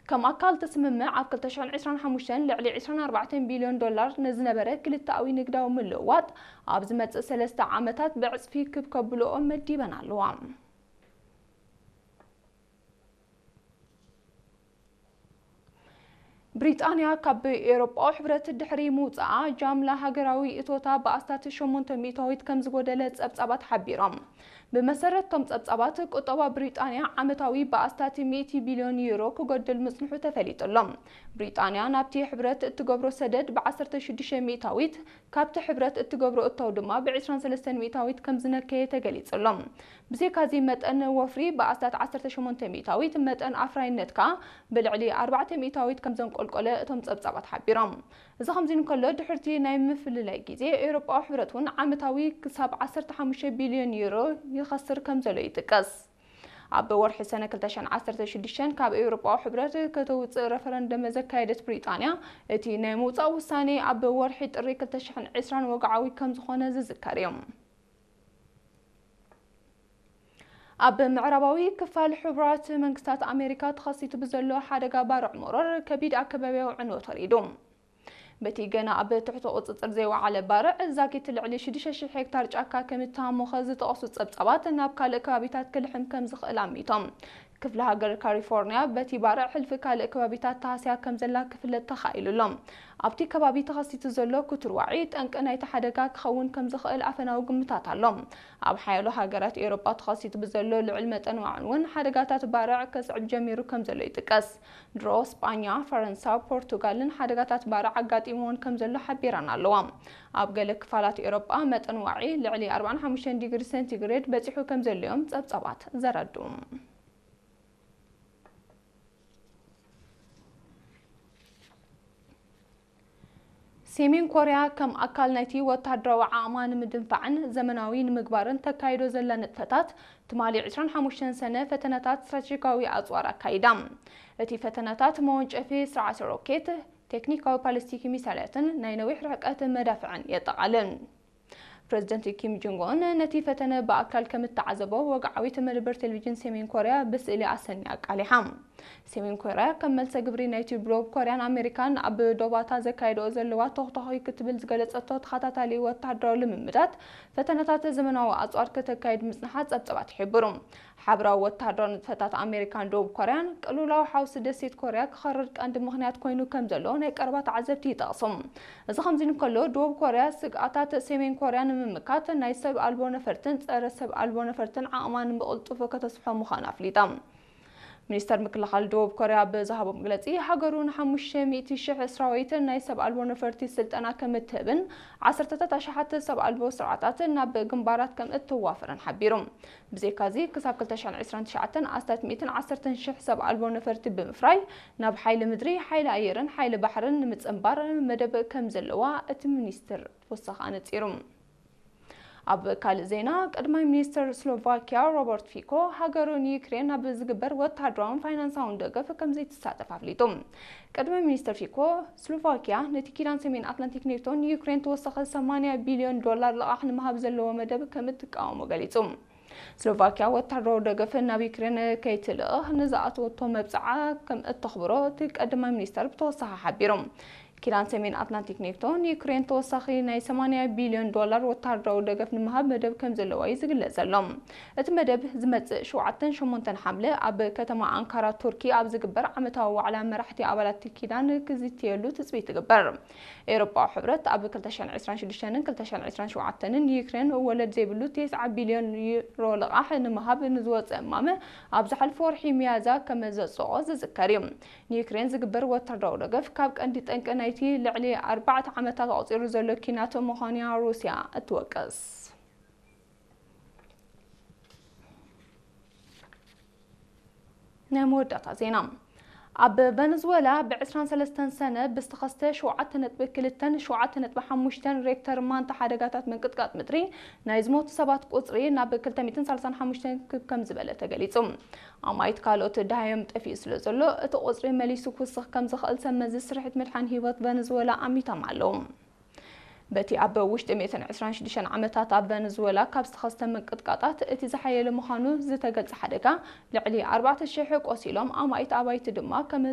ከም ኣካል እቲ ስምምዕ፣ ኣብ ክልተ ሽሕን ዕስራን ሓሙሽተን ልዕሊ ዕስራን ኣርባዕተን ቢልዮን ዶላር ንዝነበረ ክልተኣዊ ንግዳዊ ምልውዋጥ ኣብ ዝመጽእ ሰለስተ ዓመታት ብዕጽፊ ክብ ከብልኦ መዲበን ኣለዋ። ብሪጣንያ ካብ ኤውሮጳዊ ሕብረት ድሕሪ ምውጻኣ፣ ጃምላ ሃገራዊ እቶታ ብኣስታት ሸሞንተ ሚእታዊት ከም ዝጎደለ ጸብጻባት ሓቢሮም። ብመሰረት እቶም ጸብጻባት፣ ቁጠባ ብሪጣንያ ዓመታዊ ብኣስታት ሚእቲ ቢልዮን ዩሮ ክጎድል ምጽንሑ ተፈሊጡ ኣሎ። ብሪጣንያ ናብቲ ሕብረት እትገብሮ ሰደድ ብ ዓሰርተ ሽዱሽተ ሚእታዊት፣ ካብቲ ሕብረት እትገብሮ እታው ድማ ብ ዕስራን ሰለስተን ሚእታዊት ከም ዝነከየ ተገሊጹ ኣሎ። ብዘይካዚ፣ መጠን ወፍሪ ብኣስታት ዓሰርተ ሸሞንተ ሚእታዊት፣ መጠን ኣፍራይነት ከኣ ብልዕሊ ኣርባዕተ ሚእታዊት ከም ዘንቆልቆለ እቶም ጸብጻባት ሓቢሮም። እዚ ከምዚ እንከሎ፣ ድሕርቲ ናይ ምፍልላይ ግዜ፣ ኤውሮጳዊ ሕብረት እውን ዓመታዊ ክሳብ ዓሰርተ ሓሙሽተ ቢልዮን ዩሮ ይኸስር ከም ዘሎ ይጥቀስ። ኣብ ወርሒ ሰነ ክልተ ሽሕን ዓሰርተ ሽዱሽተን ካብ ኤውሮጳዊ ሕብረት ከተውጽእ ረፈረንደም ዘካየደት ብሪጣንያ፣ እቲ ናይ ምውጻእ ውሳኔ ኣብ ወርሒ ጥሪ ክልተ ሽሕን ዕስራን ወግዓዊ ከም ዝኾነ ዝዝከር እዩ። ኣብ ምዕራባዊ ክፋል ሕቡራት መንግስታት ኣሜሪካ ተኸሲቱ ብዘሎ ሓደጋ ባርዕ መሮር፣ ከቢድ ኣከባቢያዊ ዕንወት ወሪዱ። በቲ ገና ኣብ ትሕቲ ቁጽጽር ዘይወዓለ ባርዕ፣ ዛጊት ልዕሊ ሽዱሽተ ሽሕ ሄክታር ጫካ ከም እተሃሞኸ ዝጠቐሱ ጸብጻባት፣ ናብ ካልእ ከባቢታት ክልሕም ከም ዝኽእል ኣሚቶም። ክፍለ ሃገር ካሊፎርኒያ በቲ ባርዕ ሕልፊ ካልእ ከባቢታት ተሃስያ ከም ዘላ ክፍለጥ ተኻኢሉ ኣሎ። ኣብቲ ከባቢ ተኸሲቱ ዘሎ ክቱር ዋዒ፣ ጠንቂ ናይቲ ሓደጋ ክኸውን ከም ዝኽእል ኣፈናዊ ግምታት ኣሎ። ኣብ ሓያሎ ሃገራት ኤውሮጳ ተኸሲቱ ብዘሎ ልዑል መጠን ዋዕን እውን፣ ሓደጋታት ባርዕ ከስዕብ ጀሚሩ ከም ዘሎ ይጥቀስ። ድሮ ስጳኛ፣ ፈረንሳ፣ ፖርቱጋልን ሓደጋታት ባርዕ ኣጋጢምወን ከም ዘሎ ሓቢረን ኣለዋ። ኣብ ገለ ክፋላት ኤውሮጳ፣ መጠን ዋዒ ልዕሊ ኣርባዓን ሓሙሽተን ዲግሪ ሴንቲግሬድ በጺሑ ከም ዘሎ እዮም ጸብጻባት ዘረድኡ። ሰሜን ኮርያ፣ ከም ኣካል ናይቲ ወተሃደራዊ ዓቕማ ንምድንፋዕን ዘመናዊ ንምግባርን ተካይዶ ዘላ ንጥፈታት፣ ትማሊ ዕስራን ሓሙሽተን ሰነ ፈተነታት ስትራቴጂካዊ ኣጽዋር ኣካይዳ። እቲ ፈተነታት፣ መወንጨፊ ስርዓተ ሮኬት፣ ቴክኒካዊ ባሊስቲክ ሚሳይላትን ናይ ነዊሕ ርሕቀት መዳፍዕን የጠቓልል። ፕረዚደንት ኪም ጆንግ ኡን ነቲ ፈተነ ብኣካል ከም እተዓዘቦ፣ ወግዓዊት መደበር ቴሌቪዥን ሰሜን ኮርያ ብስእሊ ኣሰንያ ኣቃሊሓ። ሰሜን ኮርያ፣ ከም መልሰ ግብሪ ናይቲ ብደቡብ ኮርያን ኣሜሪካን ኣብ ዶባታ ዘካየድኦ ዘለዋ ተኹተኹ ክትብል ዝገለጸቶ ተኸታታሊ ወተሃደራዊ ልምምዳት፣ ፈተነታት ዘመናዊ ኣጽዋር ከተካይድ ምጽንሓ ጸብጻባት ይሕብሩ። ሓበራዊ ወተሃደራዊ ንጥፈታት ኣሜሪካን ደቡብ ኮርያን፣ ቅልውላው ሓውሲ ደሴት ኮርያ ክኸርር ቀንዲ ምኽንያት ኮይኑ ከም ዘሎ ናይ ቀረባ ተዓዘብቲ ይጠቕሱ። እዚ ከምዚ እንከሎ፣ ደቡብ ኮርያ ስግኣታት ሰሜን ኮርያ ንምምካት፣ ናይ ሰብ ኣልቦ ነፈርትን ጸረ ሰብ ኣልቦ ነፈርትን ዓቕማ ንምቕልጡፍ ከተስፍሖ ምዃኑ ኣፍሊጣ። ሚኒስተር ምክልኻል ደቡብ ኮርያ ብዝሃቦ መግለጺ፣ ሃገሩ ንሓሙሽተ ሚእቲ ሽሕ ሰራዊት ናይ ሰብ ኣልቦ ነፈርቲ ስልጠና ከም እትህብን ዓሰርተታት ኣሽሓት ሰብ ኣልቦ ስርዓታት ናብ ግንባራት ከም እተዋፍርን ሓቢሩ። ብዘይካዚ፣ ክሳብ ክልተ ሽሕን ዕስራን ትሽዓተን ኣስታት ሚእትን ዓሰርተን ሽሕ ሰብ ኣልቦ ነፈርቲ ብምፍራይ፣ ናብ ሓይሊ ምድሪ፣ ሓይሊ ኣየርን ሓይሊ ባሕርን ንምጽንባር መደብ ከም ዘለዋ እቲ ሚኒስትር ተወሳኺ ኣነጺሩ። ኣብ ካልእ ዜና፣ ቀዳማይ ሚኒስትር ስሎቫኪያ ሮበርት ፊኮ፣ ሃገሩ ንዩክሬን ኣብ ዝግበር ወተሃደራውን ፋይናንሳውን ደገፍ ከም ዘይትሳተፍ ኣፍሊጡ። ቀዳማይ ሚኒስትር ፊኮ፣ ስሎቫኪያ ነቲ ኪዳን ሰሜን ኣትላንቲክ ኔቶ ንዩክሬን ተወሳኺ ሰማንያ ቢልዮን ዶላር ልቓሕ ንምሃብ ዘለዎ መደብ ከም እትቃወሞ ገሊጹ። ስሎቫኪያ ወተሃደራዊ ደገፍ ናብ ዩክሬን ከይትልእኽ ንዝኣተወቶ መብጽዓ ከም እተኽብሮ እቲ ቀዳማይ ሚኒስተር ብተወሳኺ ሓቢሩ። ኪዳን ሰሜን ኣትላንቲክ ኔቶ ንዩክሬን ተወሳኺ ናይ ሰማንያ ቢልዮን ዶላር ወተሃደራዊ ደገፍ ንምሃብ መደብ ከም ዘለዎ እዩ ዝግለጽ ዘሎ። እቲ መደብ ዝመጽእ ሸውዓተን ሸሞንተን ሓምለ ኣብ ከተማ ኣንካራ ቱርኪ ኣብ ዝግበር ዓመታዊ ዋዕላ መራሕቲ ኣባላት ኪዳን ክዝትየሉ ትጽቢት ይግበር። ኤውሮጳዊ ሕብረት ኣብ ክልተ ሽሕን ዕስራን ሽዱሽተን ክልተ ሽሕን ዕስራን ሸውዓተን ንዩክሬን ወለድ ዘይብሉ ተስዓ ቢልዮን ዩሮ ልቓሕ ንምሃብ ንዝወጸ እማመ፣ ኣብ ዝሓለፈ ወርሒ ሚያዝያ ከም ዘጽደቖ ዝዝከር እዩ። ንዩክሬን ዝግበር ወታደራዊ ደገፍ፣ ካብ ቀንዲ ጠንቂ ናይቲ ልዕሊ ኣርባዕተ ዓመታት ኣቑጺሩ ዘሎ ኲናት ምዃኑ እያ ሩስያ እትወቅስ። ናይ መወዳእታ ዜና። ኣብ ቨነዝወላ ብ ዕስራን ሰለስተን ሰነ ብዝተኸስተ ሸውዓተ ነጥቢ ክልተን ሸውዓተ ነጥቢ ሓሙሽተን ሬክተር ማንታ ሓደጋታት ምንቅጥቃጥ ምድሪ፣ ናይ ዝሞቱ ሰባት ቁጽሪ ናብ ክልተ ሚእትን ሰላሳን ሓሙሽተን ክብ ከም ዝበለ ተገሊጹ። ኣማኢት ካልኦት ደሃዮም ጠፊኡ ስለ ዘሎ፣ እቲ ቁጽሪ መሊሱ ክውስኽ ከም ዝኽእል ሰብ መዚ ስርሒት ምድሓን ህይወት ቨነዝወላ ኣሚቶም ኣለዉ። በቲ ኣብ ውሽጢ ሚእትን ዕስራን ሽዱሽተን ዓመታት ኣብ ቨነዝወላ ካብ ዝተኸስተ ምንቅጥቃጣት እቲ ዝሓየለ ምዃኑ ዝተገልጸ ሓደጋ፣ ልዕሊ ኣርባዕተ ሽሕ ቆሲሎም፣ ኣማኢት ኣባይቲ ድማ ከም